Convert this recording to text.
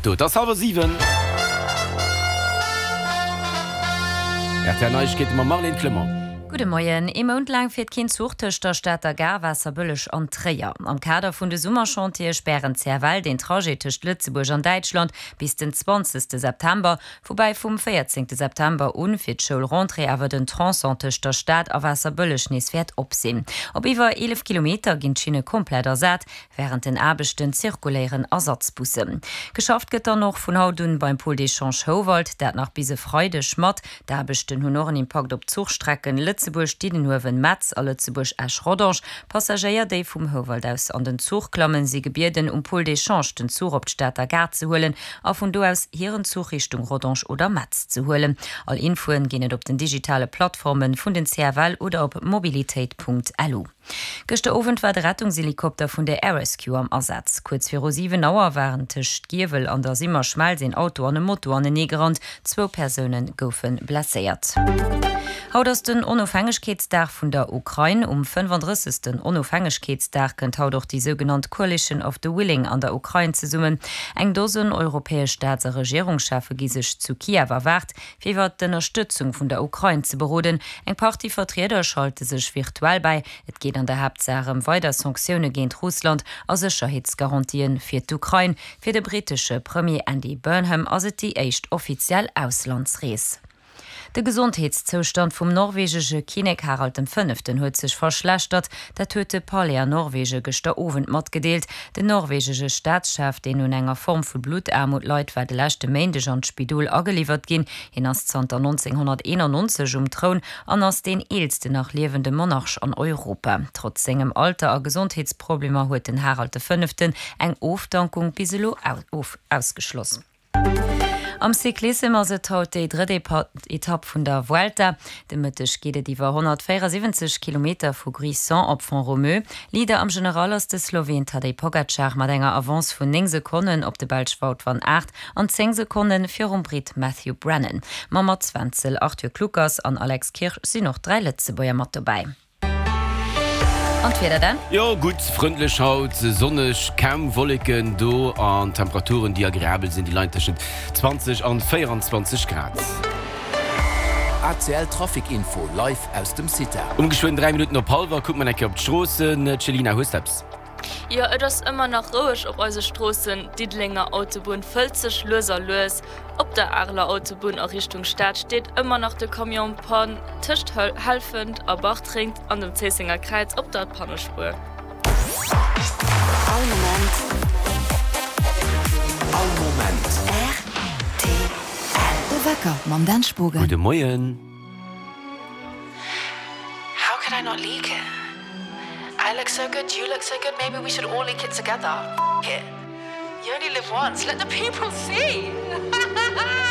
Do, et ass hallwer 7. Rtl Neiegkeete mam Marlène Clement. Gudde Moien. Ee Mount laang fiert keen Zuch tëscht der Stater Gare, Waasserbëlleg an Tréier. Am Kader vun de Summerchantiere spären d'CFL deen Trajet tëscht Lëtzebuerg an Däitschland bis den 20 September, woubäi vum 14 September un fir d'Schoulrentrée awer den Tronçon tëscht der Stad a Waasserbëlleg nees wäert op sinn. Op iwwer 11 Kilometer ginn d'Schinne komplett ersat. Wärend den Aarbechten zirkuléieren Ersatzbussen. Geschafft gëtt dann och vun haut un beim Pôle d'échange Houwald, dat nach bis e Freideg mat. D'Aarbechten hunn och en Impakt op d'Zuchstrecken Lëtzebuerg-Diddenhuewen-Metz a Lëtzebuerg-Esch-Rodange. Passagéier, déi vum Houwald aus an den Zuch klammen, si gebieden, um Pôle d'échange den Zuch op d'Stater Gare ze huelen a vun do aus hiren Zuch Richtung Rodange oder Metz ze huelen. All Infoen ginn et op den digitale Plattformen vun den CFL oder op mobilitéit.lu. Gëschter Owend war de Rettungshelikopter vun der Air Rescue am Asaz. Kuerz viru 7 Auer waren tëscht Giewel an der Simmerschmelz een Auto an e Moto anenee gerannt. Zwou Persoune goufe blesséiert. Haut ass den Onofhängegkeetsdag vun der Ukrain. Um 35. Onofhängegkeetsdag kënnt haut och déi sougenannt Coalition of the Willing an der Ukrain zesummen. Eng Dosen europäesch Staats a Regierungscheffe gi sech zu Kiew erwaart. fir iwwer d'Ënnerstëtzung vun der Ukrain ze beroden. Eng Partie Vertrieder schalte sech virtuell bäi. Et geet an der Haaptsaach ëm weider Sanktioune géint Russland a Sécherheetsgarantië fir d'Ukrain. Fir de brittesche Premier Andy Burnham ass et déi éischt offiziell Auslandsrees. De Gesondheetszoustand vum norwegesche Kinnek Harald dem Fënneften huet sech verschlechtert. Dat huet de Palais an Norwege gëschter Owend matgedeelt. Den norwegesche Staatschef, deen un enger Form vu Bluttaarmut leit, war de leschte Méindeg an d'Spidol ageliwwert ginn. Hien ass zanter 1991 um Troun an ass deen eelsten nach liewende Monarch an Europa. Trotz sengem Alter a Gesondheetsproblemer huet den Harald de Fënneften eng Ofdankung bis elo ausgeschloss. Am Cyclissem ass et haut déi drëtt Etapp vun der Vuelta. De Mëtteg geet et iwwer 174 Kilometer vu Gruissan op Font-Romeu. Leader am General ass de Sloween Tadej Pogacar mat enger Avance vun 9 Sekonnen op de Belsch Wout van Aert an 10 Sekonne virum Britt Matthew Brennan. Mam Mats Wenzel, Arthur Kluckers an Alex Kirsch sinn och 3 Lëtzebuerger mat dobäi. An d'Wieder dann? Jo, gutt, frëndlech haut, sonneg, kaum Wolleken do an Temperaturen déi agreabel sinn, déi leien tëschent 20 an 24 Grad. ACL Trafic Info live aus dem CITA. Um geschwënn 3 Minutten op hallwer kucke mer eng Kéier op d'Stroossen. Céline, hues de eppes? Jo, et ass ëmmer nach roueg op eise Stroossen. D'Diddelenger Autobunn fëllt sech lues a lues. Op der Areler Autobunn a Richtung Stad steet ëmmer nach de Camion en panne tëscht Helfent a Bartreng an dem Zéissenger Kräiz op der Pannespuer. All Moment. All Moment. Rtl. De Wecker mam Dan Spogen. Gudde Moien. How could I not leak it? I look so good, you look so good, maybe we should all leak it together. F it. You only live once, let the people see!